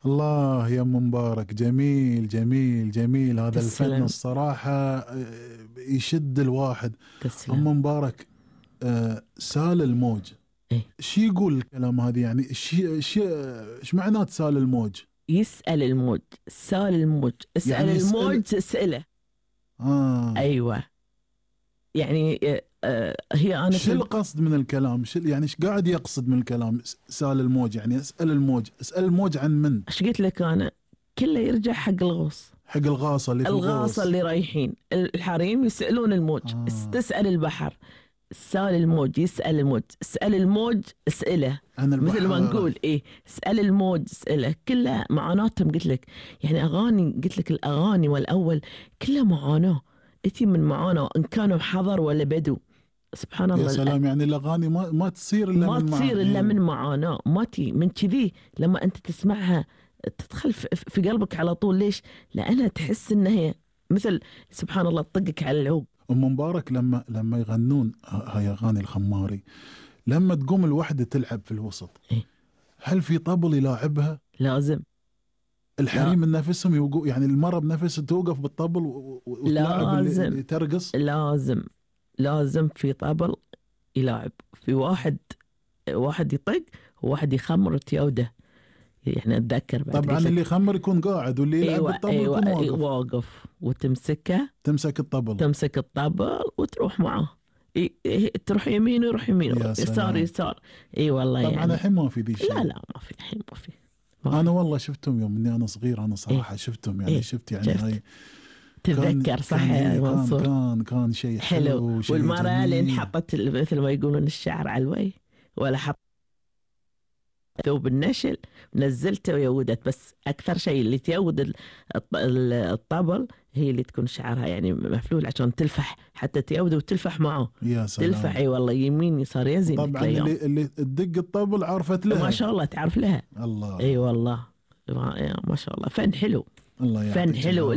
الله يا ام مبارك، جميل جميل جميل هذا الفن تسلم. الصراحة يشد الواحد. تسلم. ام مبارك، سال الموج، إيه؟ شي يقول الكلام هذه؟ يعني ايش معنات سال الموج؟ يسأل الموج، سال الموج، اسأل يعني الموج تسأله. أيوة. يعني هي أنا شو القصد من الكلام؟ يعني ايش قاعد يقصد من الكلام سال الموج؟ يعني اسأل الموج، اسأل الموج عن من؟ ايش قلت لك أنا؟ كله يرجع حق الغوص، حق الغاصة اللي في الغاصة اللي رايحين الحريم يسألون الموج. تسأل البحر، سال الموج، يسأل الموج، اسأل الموج اسأله. عن البحر مثل ما نقول ايه، اسأل الموج اسأله. كلها معاناتهم قلت لك. يعني أغاني، قلت لك الأغاني والأول كلها معاناة، اتي من معاناة، إن كانوا حضر ولا بدو. سبحان الله. يا سلام، يعني الأغاني ما تصير إلا ما من تصير إلا من معاناة، ما تي من كذي. لما أنت تسمعها تدخل في قلبك على طول. ليش؟ لأنها تحس إنها هي مثل سبحان الله تطقك على العوق. أم مبارك لما يغنون هاي أغاني الخماري، لما تقوم الوحدة تلعب في الوسط، إيه؟ هل في طبل يلاعبها؟ لازم. الحريم من نفسهم يوقف، يعني المرة بنفسها توقف بالطبل وتلاعب اللي ترقص؟ لازم في طبل يلاعب، في واحد يطق وواحد يخمر تيوده. يعني اتذكر بعد طبعا اللي يخمر يكون قاعد، واللي يلعب بالطبل يكون واقف. وتمسكه، تمسك الطبل وتروح معه. تروح يمين ويروح يمين، يسار. اي والله. طبعا يعني الحين ما في ذي شيء. لا ما في الحين، ما في. انا والله شفتهم يوم اني انا صغير، انا صراحة شفتهم، يعني شفت يعني هاي. تتذكر صح يا منصور؟ كان شيء حلو. والمرأة اللي انحطت مثل ما يقولون الشعر على الوجه، ولا حط ثوب النشل، نزلته ويودت. بس أكثر شيء اللي تيود الطبل هي اللي تكون شعرها يعني مفلول، عشان تلفح، حتى تيود وتلفح معه. يا سلام. تلفح اي والله، يمين يسار يزين. طبعا اللي تدق الطبل عرفت لها، ما شاء الله تعرف لها. الله. اي والله ما شاء الله. فن حلو، الله فن حلو.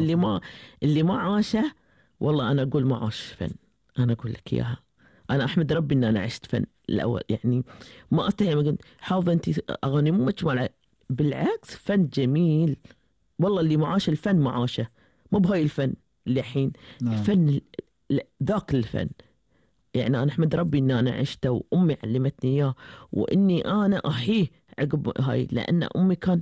اللي ما عاشه، والله أنا أقول ما عاش فن. أنا أقول لك إياها، أنا أحمد ربي إن أنا عشت فن الأول. يعني ما أستحي حافظة أنت أغاني مو مجموعة، بالعكس فن جميل. والله اللي معاش الفن معاشه، مو بهاي الفن اللي الحين. الفن ذاك الفن. يعني أنا أحمد ربي إن أنا عشته، وأمي علمتني إياه، وإني أنا أحيه عقب هاي. لأن أمي كان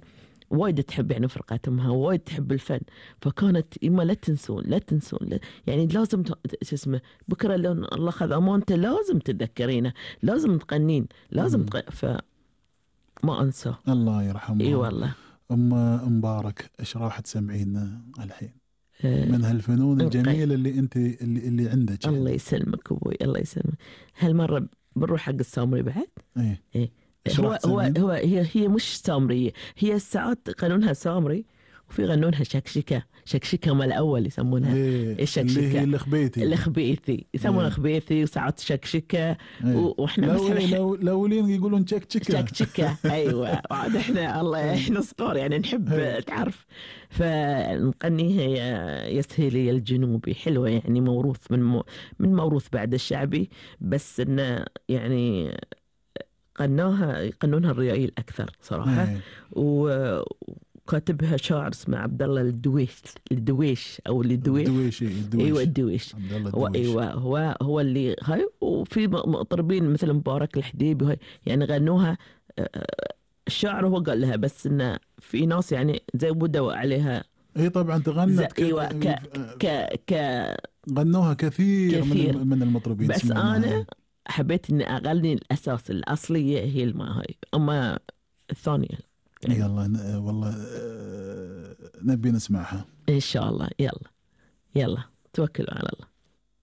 وايد تحب يعني فرقة أمها، وايد تحب الفن. فكانت إما لا تنسون يعني لازم اسمه بكرة لو الله خذ أمانته لازم تتذكرينه، لازم تغنين، لازم ما أنسى. الله يرحمه. إي والله. أم مبارك، إيش راح تسمعينا الحين من هالفنون الجميلة اللي أنت اللي عندك؟ الله يسلمك أبوي، الله يسلمك. هالمرة بنروح حق السامري بعد. إيه. هي مش سامرية، هي ساعات قانونها سامري، وفي غنونها شكشكة مال الأول يسمونها. الشكشكة اللي هي الخبيثي يسمونها خبيثي، وساعات شكشكة. واحنا الأولين يقولون شكشكة. أيوة. عاد احنا صغار يعني نحب تعرف، فنقنيها يا سهيلي الجنوبي. حلوة يعني، موروث من موروث بعد الشعبي، بس انه يعني قنونها الريايل أكثر صراحة. وكاتبها شاعر اسمه عبد الله الدويش أو الدويش. أيوة الدويش. هو اللي هاي. وفي مطربين مثل مبارك الحديبي هاي يعني غنوها. الشاعر هو قال لها، بس إنه في ناس يعني زودوا عليها. اي طبعا تغنت. ايوه غنوها كثير. من المطربين. بس انا حبيت اني اغني الاساس الاصليه هي هاي، اما الثانيه يعني. يلا والله نبي نسمعها ان شاء الله. يلا توكلوا على الله.